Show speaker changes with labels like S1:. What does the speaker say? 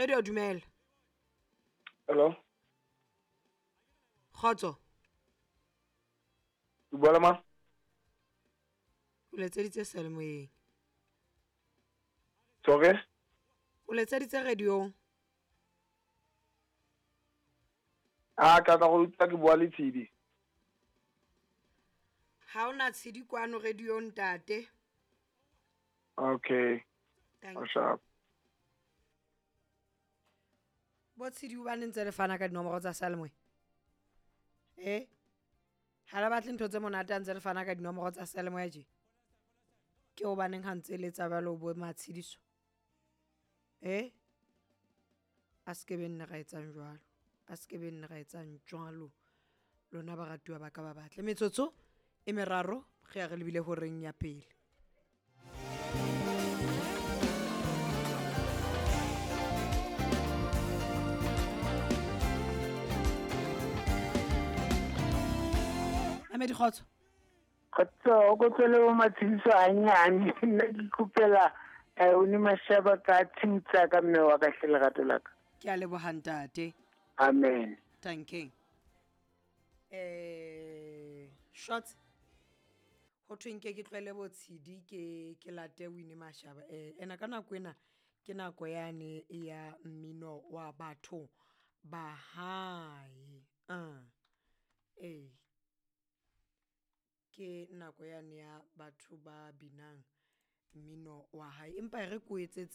S1: Radio dumela.
S2: Hello.
S1: Kgotso.
S2: O bua le mang?
S1: O letseditse seyalemoyeng.
S2: Sorry?
S1: O letseditse radiong.
S2: A ka tla go utlwa ke bua le Tshidi.
S1: Ha ona Tshidi kwano radiong ntate.
S2: Okay.
S1: Thank you.
S2: Sharp.
S1: Bo Tshidi o bane ntse le fana ka dinomoro tsa seyalemoya. Eh? Ha le batle ntho tse monate ha ntse le fana ka dinomoro tsa seyalemoya tje. Ke hobaneng ha ntse le etsa jwalo bo Matshidiso? Eh? A se ke be nne ra etsang jwalo. A se ke be nne ra etsang jwalo. Lona baratuwa ba ka ba batle. Metsotso e meraro re ya re lebile horeng ya pele. Mamedi kgotso.
S3: Kgotso, o ko tswele bo Matshidiso hanyane. Nna ke ikopela o ne mashaba ka tshiu tsa ka mme wa ka hle lerato la ka.
S1: Ke a leboha ntate.
S3: Amen.
S1: Tanking. Shots. Ho thweng ke ke tlohele bo Tshidi ke ke late Winnie Mashaba. Ena ka nako ena ke nako yane ya mmino wa batho ba hae. Eh. Ke nako yane ya batho ba binang mmino wa hae. Empa e re ko etsetse